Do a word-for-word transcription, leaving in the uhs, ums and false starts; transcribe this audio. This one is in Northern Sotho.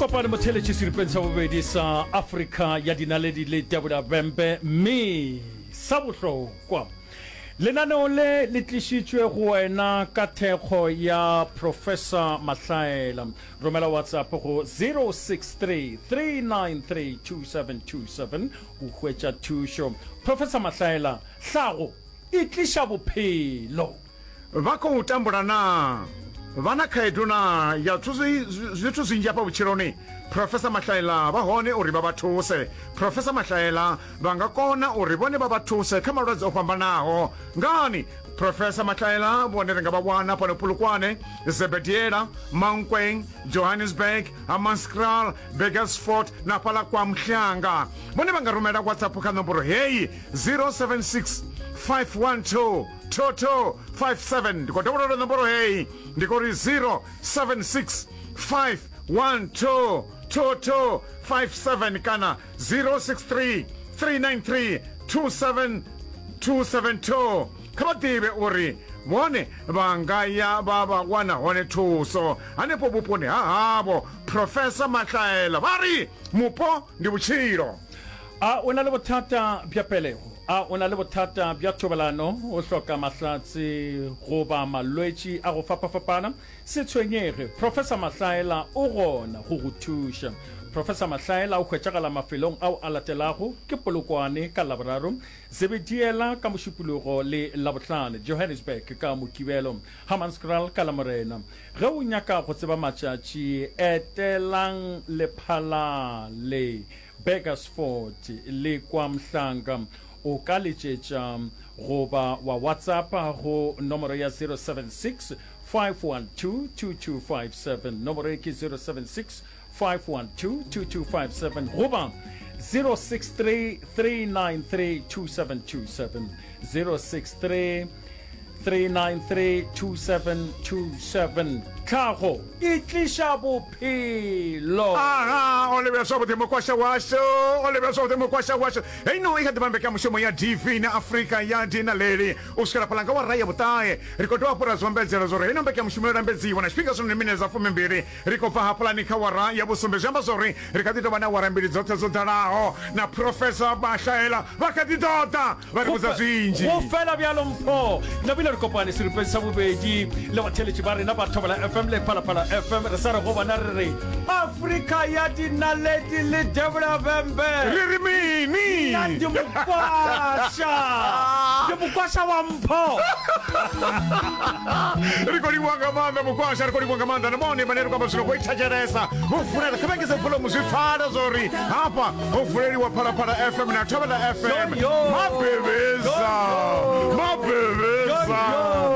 Kopane motheletši seripeng sa bobedi sa Afrika ya dinaledi le Debora Bembe, mme sa bohlokwa lenaneo le le tlišitšwe go wena ka thekgo ya Professor Mahlaela. Romela WhatsApp go zero six three three nine three two seven two seven o hwetša thušo. Professor Mahlaela, hlago e tliša bophelo. Vha khou tambula naa? Vha na khaedu naa ya zwithu zwinzhi hafha vhutshiloni? Professor Mahlaela vha hone uri vha vha thuse. Professor Mahlaela vha nga kona uri vhone vha vha thuse kha malwadze o fhambanaho. Ngani? Professor Mahlaela vhone ri nga vha wana fhano Polokwane, Zebediela, Mankweng, Johannesburg, Hammanskraal, Burgersfort na fhaḽa kwa Mhlanga. Vhone vha nga rumela WhatsApp kha nomboro heyi zero seven six five one two two two five seven. Ndi khou dovholola nomboro heyi, ndi khou ri zero seven six five one two two two five seven kana zero six three three nine three two seven two seven two. Kha vha ḓivhe uri vhone vha nga ya vha vha wana hone thuso hanefho vhuponi ha havho. Professor Mahlaela vha ri mupo ndi vhutshilo. A o na le bothata bja pelego? A o na le bothata bja thobalano, o hloka mahlatse goba malwetši a go fapafapana? Se tshwenyege, Professor Mahlaela o gona go go thuša. Professor Mahlaela o hwetšagala mafelong ao a latelago, ke Polokwane ka Laboraro, Zebediela ka Mošupologo le Labohlano, Johannesburg ka Mokibelo, Hammanskraal ka Lamorena. Ge o nyaka go tseba matšatši, etelang Lephalale, Burgersfort le kwa Mhlanga. O ka letšetša goba wa WhatsAppa go nomoro ya zero seven six five one two two two five seven. Nomoro e ke zero seven six five one two two two five seven goba zero six three three nine three two seven two seven. zero six three three nine three two seven two seven. Tlhago e tliša bophelo. Aha, o lebja zwavhuḓi mukwasha washu, o lebja zwavhuḓi mukwasha washu. Heino i kha ḓi vha mbekanyamushumo ya D V na Afrika ya Dinaleli u swikela fhaḽa nga awara ya vhuṱahe. Ri khou dovha hafhu ra zwi ombedzela zwa uri heino mbekanyamushumo yo lambedziwa na tshifhinga zwino ndi minete dza fumimbili. Ri khou bva hafhaḽani kha awara ya vhusumbe, zwi amba zwa uri ri kha ḓi tou vha na awara mbili dzoṱhe dzo ḓalaho na Professor Mahlaela vha kha ḓi ḓo ḓa vha ri vhudza zwinzhi. Go fela bjalo mpho nabile re kopane seripeng sa bobedi le batheletši ba rena ba Thobela F M le Phalaphala F M. Re sa re go bona re re Afrika ya dinaledi le Debra Bembe. Re re mini? Nna ndi mukwasha, ndi mukwasha wa mpho. Ri khou livhuwa nga maanḓa mukwasha, ri khou livhuwa nga maanḓa na vhone vhane ri khou amba zwino vho i thetshelesa vho funela. Kha vha engedze volume zwi pfala zwa uri hafha ho vuleliwa Phalaphala F M na Thobela F M. Yo, yo. Mabebezi.